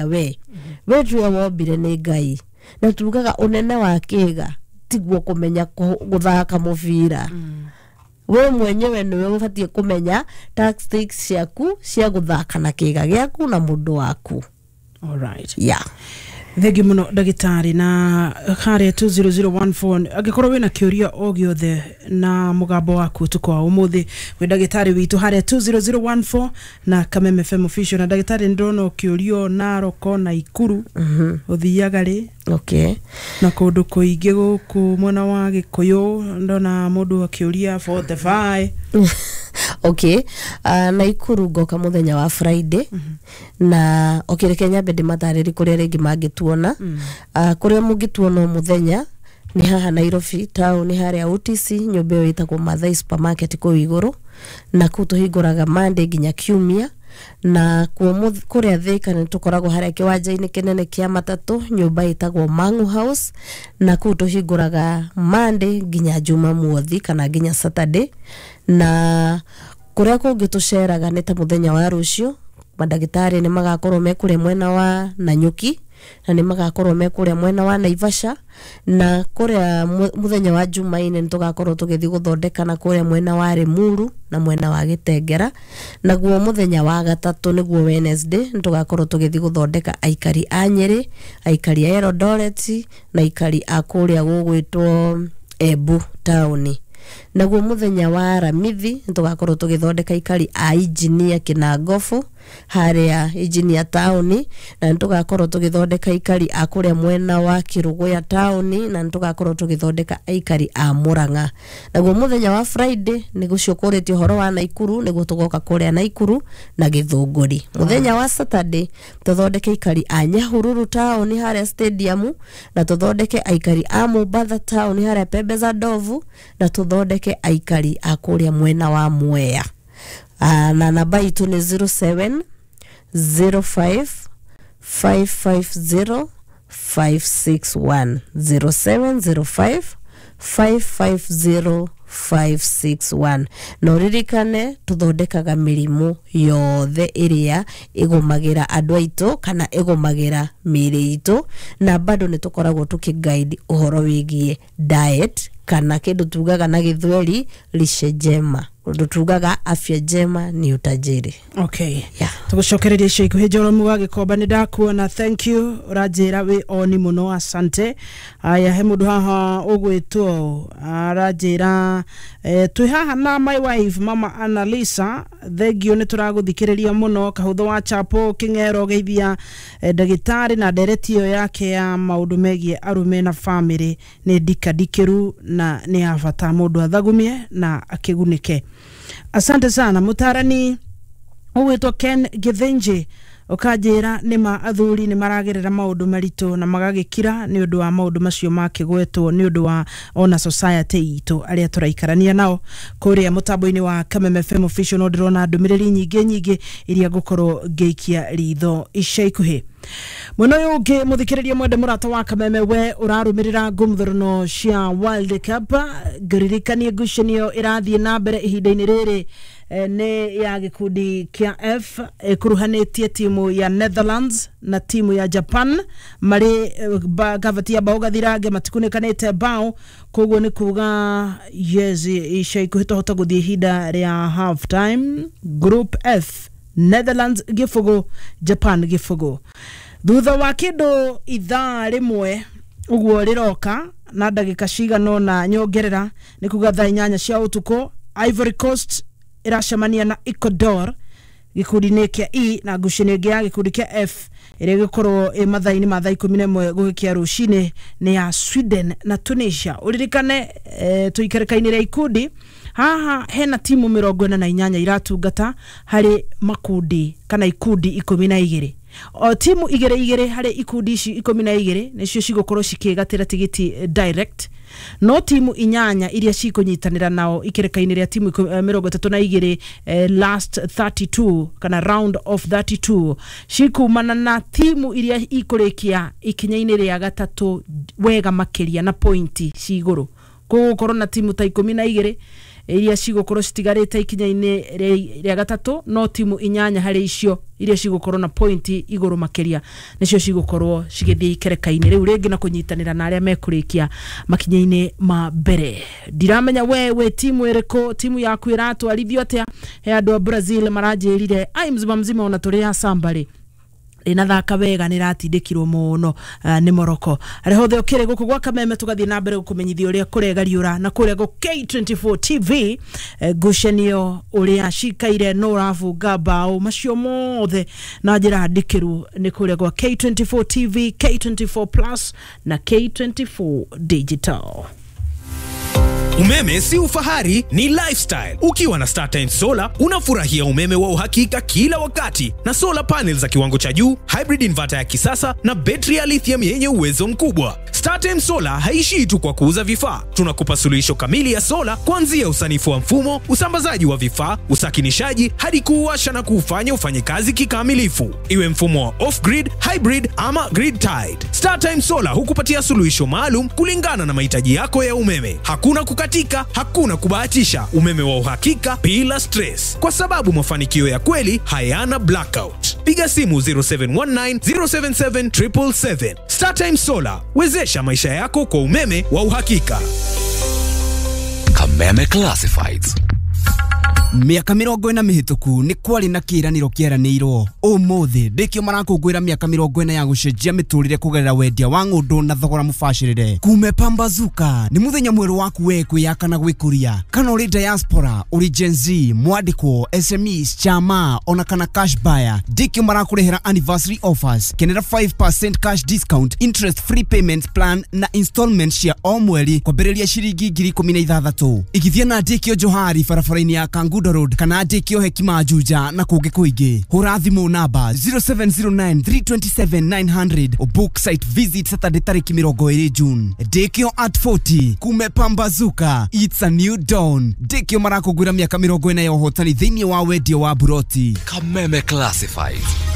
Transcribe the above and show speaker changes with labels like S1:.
S1: We tuwe wombire nĩ Ngai, na tugaga ũnene wa kĩga tiguo kũmenya gũthaka mũbira. We mwenyewe nĩwe ũbatiĩ kũmenya tactics ciaku cia gũthaka na kĩga gĩaku na mũndũ waku.
S2: Alright.
S1: Yeah.
S2: Thengiå må no, ndagätarä, na harä 20014 angäkorwo wä na kä å ria o gä othe na må waku ũtukũ wa å må thä wä ndagätarä witå harä 20014 na Kameme FM Official. Na ndagätarä, nä ndona å kä å rio Naroko na Ikuru å thiaga rä na kå ndå kå ingä gå kå mwena wa Gä kå yå, ndona må ndå akä å ria 45.
S1: Okay, Naikuru ngoka muthenya wa Friday. Na okay, reke nyambe ndĩmatarĩrie kũrĩa rĩngĩ mangĩtuona. Kũrĩa mũngĩtuona o mũthenya nĩ haha Nairobi town, harĩa OTC, nyũmba ĩyo ĩtagwo Mathai Supermarket kũu igũrũ, na kũu tũhingũraga Monday nginya Kiumia. Na kuo kũrĩa Thĩka nĩ tũkoragwo harĩa kĩwanja-inĩ kĩnene kĩa matatũ, nyũmba ĩtagwo Mangu House, na kũu tũhingũraga Monday nginya Jumamothi kana nginya Saturday. Na kũrĩa kũngĩ tũceraga nĩ ta mũthenya wa rũciũ, mandagĩtarĩ nĩ magakorwo me kũrĩa mwena wa Nanyuki, na nĩ magakorwo me kũrĩa mwena wa Naivasha. Na kũrĩa mũthenya wa Jumaine nĩ tũgakorwo tũgĩthiĩ gũthondeka na kũrĩa mwena wa Limuru na mwena wa Gĩtengera. Naguo mũthenya wa gatatũ, nĩguo Wednesday, nĩ tũgakorwo tũgĩthiĩ gũthondeka aikari a Nyĩrĩ, aikari a Eldoret na aikari a kũrĩa gũgwĩtwo Embu taũni. Naguo mũthenya wa Aramithi nĩ tũgakorwo tũgĩthondeka aikari a Engineer Kĩnangobu, harĩa Engineer taũni, na nĩ tũgakorwo tũgĩthondeka aikari a kũrĩa mwena wa Kĩrũgũya taũni, na nĩ tũgakorwo tũgĩthondeka aikari a Mũrang'a. Naguo mũthenya wa Friday, nĩ gũcio kũrĩtie ũhoro wa Naikuru, nĩguo tũgoka kũrĩa Naikuru na Gĩthũngũri. Mũthenya wa Saturday tũthondeke aikari a Nyahururu taũni harĩa stadium, na tũthondeke aikari a Mombatha taũni harĩa Pembe za Ndovu, na tũthondeke aikari a kũrĩa mwena wa Mwea. Na namba itũ nĩ 07 05 550 561, 0705 550 561. Na ũririkane tũthondekaga mĩrimũ yothe ĩrĩa ĩgũmagĩra andũ aitũ kana ĩgũmagĩra mĩĩrĩ itũ, na bado nĩ tũkoragwo tũkĩguide ũhoro wĩgiĩ diet, kana kĩndũ tugaga na Gĩthweri lishe njema, ũndũ tugaga afya njema ni utajiri.
S2: Okay.
S1: Yeah.
S2: Tũgũcokereria icio ikuhĩ. Njoromu wa Gĩkomba, nĩ ndakuona, thank you, ũranjĩra wĩ oni mũno, asante. Aya, he mũndũ haha ũgwĩtwo aranjĩra, twĩ haha na my wife, Mama Annalisa, thengio, nĩ tũragũthikĩrĩria mũno. Kahũthũ wa Chapo Kĩng'ero, geithia ndagĩtarĩ na ndereti ĩyo yake ya maũndũ megiĩ arũme na famĩlĩ nĩ ndikandikĩru na nĩ ya bata mũndũ athagumie na akĩgunĩke. Asante sana. Mũtarani ũgwĩtwo Ken Gĩthĩnjĩ, ũkanjĩra nĩma athuri nĩ maragerera maũndũ maritũ na magagĩkira nĩ ũndũ wa maũndũ macio makĩgwetwo, nĩ ũndũ wa ona society itũ arĩa tũraikarania nao. Kũrĩa mũtambo-inĩ wa Kameme FM Official no ndĩrona ndũmĩrĩri nyingĩ nyingĩ iria ngũkorwo ngĩikia ritho ica ikuhĩ. Mwena ũyũ ũngĩ, mũthikĩrĩria mwende, mũrata wa Kameme, we ũrarũmĩrĩra ngũmthũrano cia World Cup, ngũririkanie ngucanio ĩrathiĩ na mbere ihinda-inĩ rĩrĩ nĩ ya gĩkundi kĩa F, ĩkuruhanĩtie timu ya Netherlands na timu ya Japan. Marĩ gavati ya bao gathirange, matikunĩkanĩte bao, koguo nĩ kuga yes, ica ikuhĩ tũhota gũthiĩ ihinda rĩa half time. Group F, Netherlands 0, Japan 0. Thutha wa kĩndũ ithaa rĩmwe ũguo rĩroka na ndagĩka cigana ũna nyongerera, nĩ kuga thaa 8 cia ũtukũ, Ivory Coast ĩracemania na Ecuador gĩkundi-inĩ kĩa E, na ngucanio ĩngĩ ya gĩkundi kĩa F ĩrĩa ĩgĩkorwo ĩ mathaa-inĩ ma thaa 11 gũgĩkĩa rũcinĩ nĩ ya Sweden na Tunisia. Ũririkane tũikarĩka-inĩ rĩa ikundi haha hena timu 48 iratungata harĩ makundi kana ikundi 12. O timu igĩrĩ igĩrĩ harĩ ikundi ici 12 nĩcio cigũkorwo cikĩgatĩra tigiti direct, no timu inyanya iria cikũnyitanĩra nao ikĩrĩka-inĩ rĩa timu 32, last 32 kana round of 32, cikumana na timu iria ikũrĩkia ikinya-inĩ rĩa gatatũ wega makĩria na pointi ci igũrũ. Kũgũkorwo na timu ta 12. Iria cigũkorwo citigarĩte ikinya-inĩ rĩa gatatũ, no timu 8 harĩ icio iria cigũkorwo na pointi igũrũ makĩria nĩcio cigũkorwo cigĩthiĩ ikereka-inĩ rĩu rĩngĩ na kũnyitanĩra na arĩa mekũrĩkia makinya-inĩ ma mbere. Ndiramenya we wĩ timu ĩrĩkũ, timu yaku ĩratwarithio atĩa. He andũ a Brazil maranjĩrire ai mzima mzima ona tũrĩ a sambarĩ rĩnathaka wega, nĩratindĩkirwo mũno nĩ Morocco. Harĩa hothe ũkĩrĩ gũkũ gwa Kameme, tũgathiĩ na mbere gũkũmenyithia ũrĩa kũregariũra na kũrĩa gũ K24 TV, ngucanio ũrĩa cikaire, no ũrabunga mbaũ, macio mothe na njĩra ndikĩru nĩ kũrĩa gwa K24 TV, K24 Plus na K24 Digital.
S3: Umeme si ufahari, ni lifestyle. Ukiwa na StarTimes Solar unafurahia umeme wa uhakika kila wakati na solar panels za kiwango cha juu, hybrid inverter ya kisasa na betri ya lithium yenye uwezo mkubwa. StarTimes Solar haishii tu kwa kuuza vifaa. Tunakupa suluhisho kamili ya sola kuanzia usanifu wa mfumo, usambazaji wa vifaa, usakinishaji hadi kuuwasha na kuufanya ufanye kazi kikamilifu. Iwe mfumo wa off-grid, hybrid ama grid tied. StarTimes Solar hukupatia suluhisho maalum kulingana na mahitaji yako ya umeme. Hakuna kukatika, hakuna kubahatisha. Umeme wa uhakika bila stress. Kwa sababu mafanikio ya kweli hayana blackout. Piga simu 0719 077 777. StarTimes Solar, wezesha maisha yako kwa umeme wa uhakika.
S4: Kameme Classifieds.
S5: Mĩaka 40 mĩhĩtũku nĩ kwarĩ na kĩĩranĩro kĩeranĩirwo. Ũmũthĩ ndĩkĩo marakũngũĩra mĩaka 40 ya gũcenjia mĩtũrĩre kũgerera wendia wa ng'ũndũ na thogora mũbacĩrĩre. Kume pambazuka nĩ mũthenya mwerũ waku we kwĩyaka na gwĩkũria. Kana ũrĩ diaspora, ũrĩ Gen Z, mwandĩkwo, SMEs, chama ona kana cash buyer, ndĩkĩo marakũrehera anniversary offers. Kenera 5% cash discount, interest free payment plan na installment cia o mweri kwambĩrĩria ciringi 16,000. Igithia na ndĩkĩo Johari barabara-inĩ ya Kangundo Road kana ndĩkĩo Hekima Juja na kũngĩ kũingĩ. Hũra thimũ namba 0709 327 900 book site visit Saturday tarĩki 20 June. Ndĩkĩo at 40 kume pambazuka, it's a new dawn. Ndĩkĩo marakũngũĩra mĩaka 40 ya ũhotani thĩinĩ wa wendia wa buroti.
S4: Kameme Classifieds.